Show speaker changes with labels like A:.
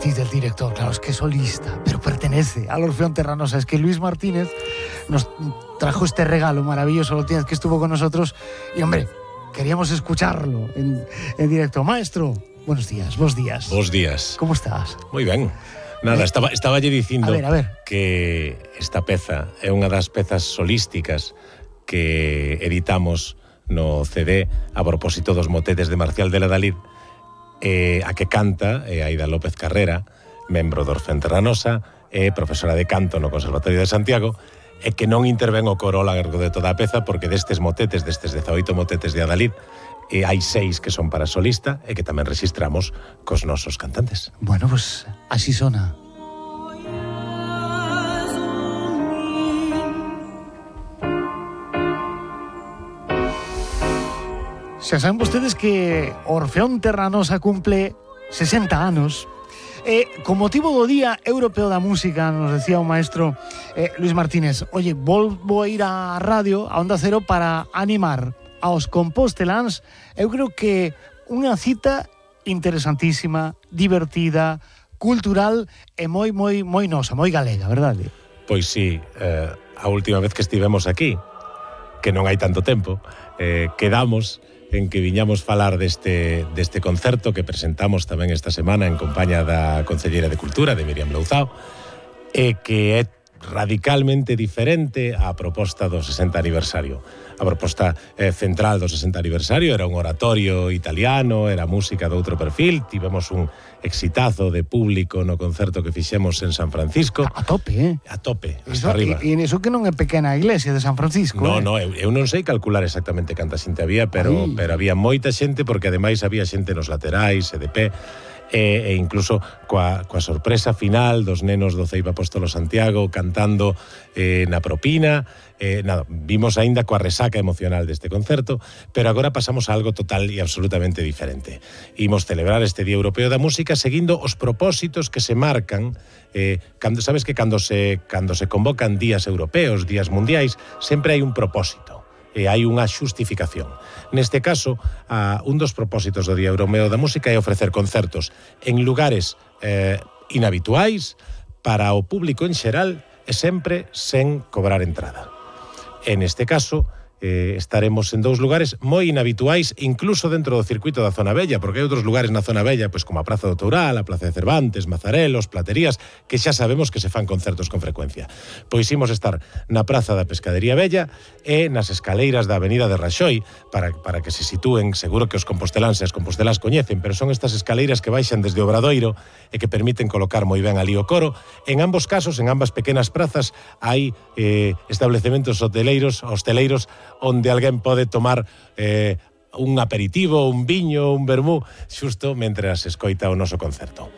A: matiz del director, claro, es que es solista, pero pertenece al Orfeón Terranosa. Es que Luis Martínez nos trajo este regalo maravilloso la última vez que estuvo con nosotros y, hombre, queríamos escucharlo en directo. Maestro, buenos días, bos días.
B: Bos días.
A: ¿Cómo estás?
B: Moi ben. Nada, estaba lle dicindo
A: a ver.
B: que esta peza é unha das pezas solísticas que editamos no CD a propósito dos motetes de Marcial de la Dalid, a que canta Aida López Carrera, membro do Orfeón Terranosa, profesora de canto no Conservatorio de Santiago, e que non intervén o coro ao largo de toda a peza, porque destes motetes, destes 18 motetes de Adalid, hai 6 que son para solista e que tamén registramos cos nosos cantantes.
A: Bueno, pues así sona. Xa saben vostedes que Orfeón Terranosa cumple 60 anos. Con motivo do Día Europeo da Música, nos decía o maestro Luis Martínez, oye, volvo a ir á radio, a Onda Cero, para animar aos composteláns. Eu creo que unha cita interesantísima, divertida, cultural e moi nosa, moi galega, verdade?
B: Pois sí, a última vez que estivemos aquí, que non hai tanto tempo, quedamos en que viñamos falar deste concerto que presentamos tamén esta semana en compañía da Concelleira de Cultura, de Miriam Louzao, e que é radicalmente diferente á proposta do 60 aniversario. A proposta central do 60 aniversario era un oratorio italiano, era música de outro perfil, tivemos un exitazo de público no concerto que fixemos en San Francisco.
A: A tope,
B: A tope, hasta arriba.
A: E iso que non é pequena a iglesia de San Francisco.
B: No, eu non sei calcular exactamente canta xente había, pero había moita xente, porque ademais había xente nos laterais e de pé, e incluso coa sorpresa final dos nenos do Ceiba Apóstolo Santiago cantando na propina. Nada, vimos aínda coa resaca emocional deste concerto, pero agora pasamos a algo total e absolutamente diferente. Imos celebrar este Día Europeo da Música seguindo os propósitos que se marcan. Sabes que cando se convocan días europeos, días mundiais, sempre hai un propósito e hai unha xustificación. Neste caso, un dos propósitos do Día Europeo da Música é ofrecer concertos en lugares inhabituais para o público en xeral e sempre sen cobrar entrada. En este caso, estaremos en 2 lugares moi inhabituais, incluso dentro do circuito da Zona Bella, porque hai outros lugares na Zona Bella, pois como a Praza do Toural, a Plaza de Cervantes, Mazarelos, Platerías, que xa sabemos que se fan concertos con frecuencia. Pois imos estar na Praza da Pescadería Bella e nas escaleiras da Avenida de Raxoi, para que se sitúen, seguro que os composteláns e as compostelás coñecen, pero son estas escaleiras que baixan desde o Obradoiro e que permiten colocar moi ben ali o coro. En ambos casos, en ambas pequenas prazas, hai establecementos hoteleiros onde alguén pode tomar un aperitivo, un viño, un vermú, xusto mentre se escoita o noso concerto.